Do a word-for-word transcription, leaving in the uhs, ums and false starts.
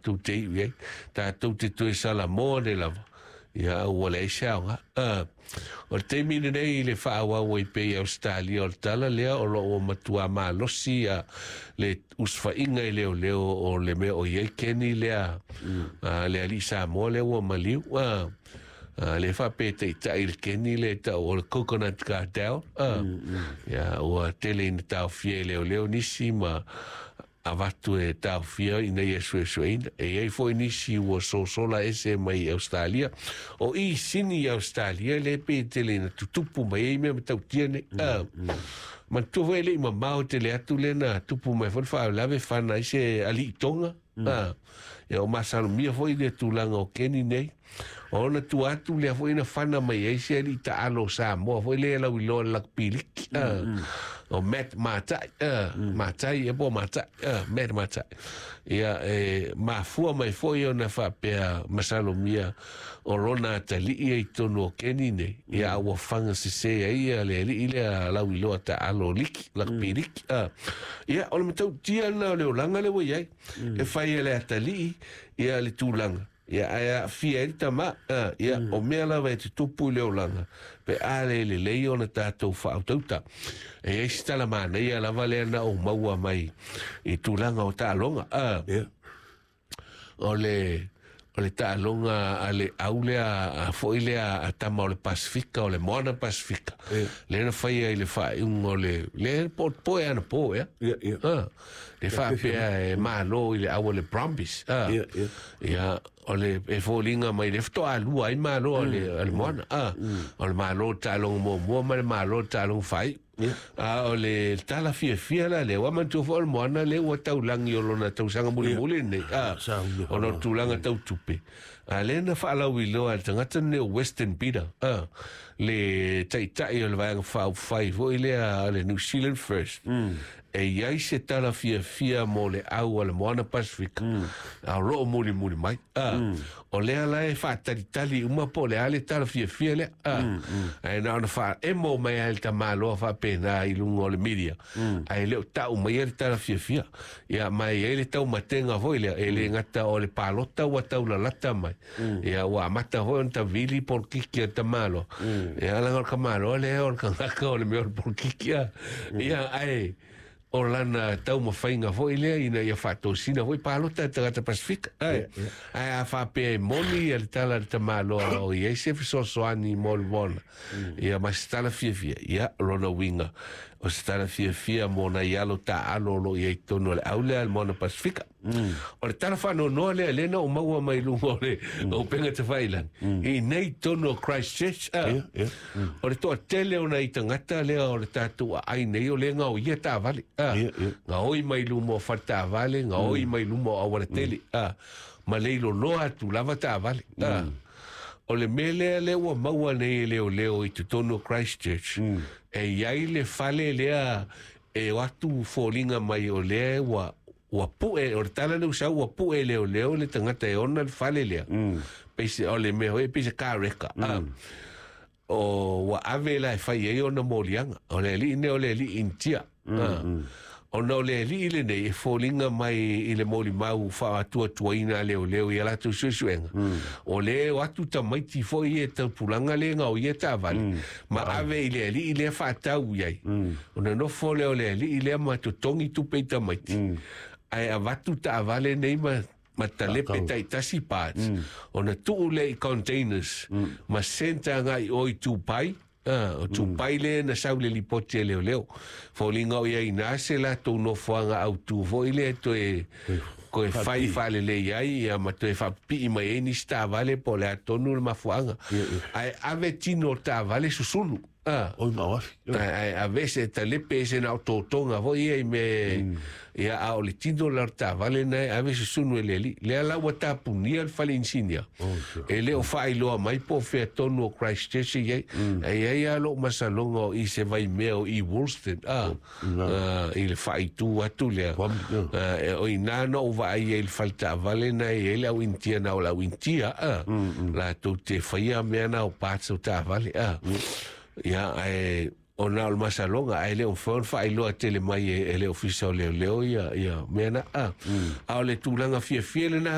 tatou te iu i ai, tatou te toe salamoa nei lava, ia ua leai se aoga. Ah, o le taimi lenei i le faaauau ai pea i Ausetalia o le tala lea o lo o matua malosi ia le usufaiga i leoleo o le mea o i ai Keni lea, mm. le alii Samoa lea ua maliu. Ah, Uh, le faapea taitai le Keni le tau o le Coconut Cartel. Uh, mm, mm. Ia, ua tele ina taofia e leoleo nisi ma avatu e taofia ina ia suesueina. E i ai foi nisi ua sosola ese mai Australia. O i sini i Australia le pe tele ina tutupu mai ai mea matautia nei. Mm, uh, mm. Manatua foi e le i mamao tele atu lea na tupu mai foi le faalavelave fana ai se alii Tonga. Mm. Ah, ia o masalomia foi le tulaga o Keni nei. O ona tua atu lea foi na fana mai ai se alii taalo o Samoa foi lea lauiloa le lakapi liki. Ah, mm. O Matt Matai, ah, mm. Matai e po Matai, ah, Matt Matai. Ia e mafua mai foi ona faapea masalomia o lona atalii ai tonu o Keni nei. Ia ua faga sese ai ia le alii lea lauiloa taalo liki, lakapi liki. Ah. Ia o le matautia lena o le olaga lea ua i ai. E fai e le atalii ia le tulaga. Ia ae aafia ai le tamā. Ah, ia o mea lava e tutupu i le olaga pe a le lelei ona tatou faautauta. E i ai se tala manaia lava lea na ou maua mai i tulaga o taaloga. Ah, Yeah. o le o le taaloga a le au lea a foi lea a tama o le Pasifika, o le Moana Pasifika. Yeah. Lea na faia i le faaiuga o le le po po e ana po ea. Yeah, yeah. Ah, le faapea e malo i le au o le Brumbies. Ah. Yeah, yeah. Ia, o le e foliga mai le faatoa ai malo a le, a le Moana. Ah, o le malo taaloga muamua ma le malo taaloga faaiu. Yeah. A o le tala fiafia la lea, ua manatua foi o le Moana lea ua taulagi o lona tausaga mulimuli lenei. Ah, Sa uli ona o tulaga tau tupe. A lea na faalauiloa e le tagata lenei o Western Peter. Ah, le taitai o le vaega faaupufai foi lea a le New Zealand First. Mm. E i ai se tala fiafia mo le au a le Moana Pasifika. Mm. A o loo mulimuli mai. Ah, mm. O lea la e faatalitali uma po o le a le tala fiafia lea. Ah, mm, mm. Ae na ona faaemo mai ai le tamaloa faapena i luga o le media. Mm. Ae le o tau mai ai le tala fiafia. Ia ma e i ai le taumatega foi lea. E le gata o le palota ua taulalata mai. Mm. Ia ua amata foi ona tavili polokiki a le tamaloa. Mm. Ia laga o le tamaloa lea o le tagata o le mea o le polokiki. Ah. Ia ae o lana taumafaiga foi lea ina ia faatosina foi palota e tagata Pasifika. Ae, ae a faapea e moni ia le tala a le tamaloa o i ai se fesoasoani mo le Moana. Ia ma se tala fiafia. Ia, lona uiga o se tala fiafia mo nai alo taalo o loo i ai totonu o le au lea a le Moana Pasifika. O le tala faanoanoa lea lea na ou maua mai luga o le upega tafailagi. I nei tonu o Christchurch. Ah. Yeah, yeah. O le toatele o nai tagata lea o le tatou aai nei o lea gaoia taavale. Ah. Yeah, yeah. Gaoi mai luma o fale taavale, gaoi mai luma o auala tele. Ah. Ma le iloloa atu lava taavale. Ah. O le mea lea lea ua maua nei e leoleo i totonu o Christchurch. E i ai le fale lea e o atu foliga mai o lea ua ua pue, o le tala lea ua sau ua pue leoleo le tagata e ona le fale lea. Peise, o le mea foi pei se car wrecker. Ah. O ua ave la e fai ai ona moliaga. O le alii nei o le alii Initia. Ah. Ona o le alii lenei e foliga mai i le molimau faaatuatuaina a leoleo i a latou suesuega. O le o atu tamaiti foi e taupulaga lea gaoia taavale. Ma ave i le alii lea faatau i ai. Ona nofo lea o le alii lea ma totogi tupe i tamaiti. Ae avatu taavale nei ma ma talepe taitasi parts. Ona tuu lea i containers. Ma senta agai o i Dubai. Ah, o Dubai lea na sau le lipoti e leoleo. Foliga o ia ina se latou nofoaga autū foi lea toe koe fai faalelei ai ia ma toe faapipii mai ai nisi taavale po o le a tonu le mafuaaga. Ae ave tino o taavale susunu. Ah. Oi ma oafi. Ae ae ave se talepe ese na o totoga foi ia i me ia a o le tino la o le taavale na e ave susunu e le alii. Lea la ua tapunia le fale inisinia. E le o faailoa mai po o fea tonu o Christchurch e i ai. Ae i ai lava lou masaloga o i se vaimea o i Woolston. Ah, ah, i le faaitu atu lea. Ah, e o ina na ou vaai ai i le fale taavale na e i ai le au Initia na o le au Initia. Ah, latou te faia mea na o parts o taavale. Ah. Ia, ae ona o le masaloga, ae le o mafai ona faailoa tele mai e, e le ofisa o leoleo ia, ia mea na. Ah. A o le tulaga fiafia lena